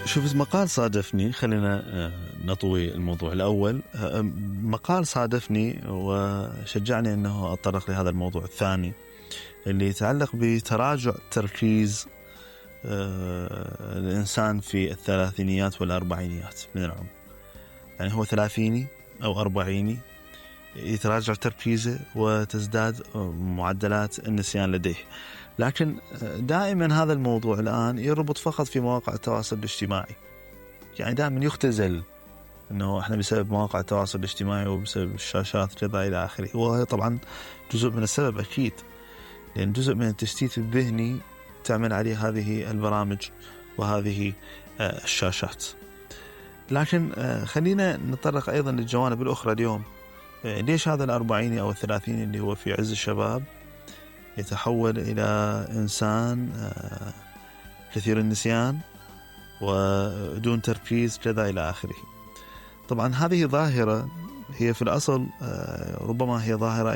شفت مقال صادفني، خلينا نطوي الموضوع الأول. مقال صادفني وشجعني أنه أتطرق لهذا الموضوع الثاني اللي يتعلق بتراجع تركيز الإنسان في الثلاثينيات والأربعينيات من العمر. يعني هو ثلاثيني أو أربعيني، يتراجع تركيزه وتزداد معدلات النسيان لديه. لكن دائما هذا الموضوع الآن يربط فقط في مواقع التواصل الاجتماعي، يعني دائما يختزل أنه إحنا بسبب مواقع التواصل الاجتماعي وبسبب الشاشات كذا إلى آخره. وهي طبعا جزء من السبب أكيد، لأن جزء من التشتيت الذهني تعمل عليه هذه البرامج وهذه الشاشات. لكن خلينا نتطرق أيضا للجوانب الأخرى اليوم. ليش هذا الأربعيني أو الثلاثيني اللي هو في عز الشباب يتحول إلى إنسان كثير النسيان ودون تركيز كذا إلى آخره؟ طبعا هذه ظاهرة هي في الأصل ربما هي ظاهرة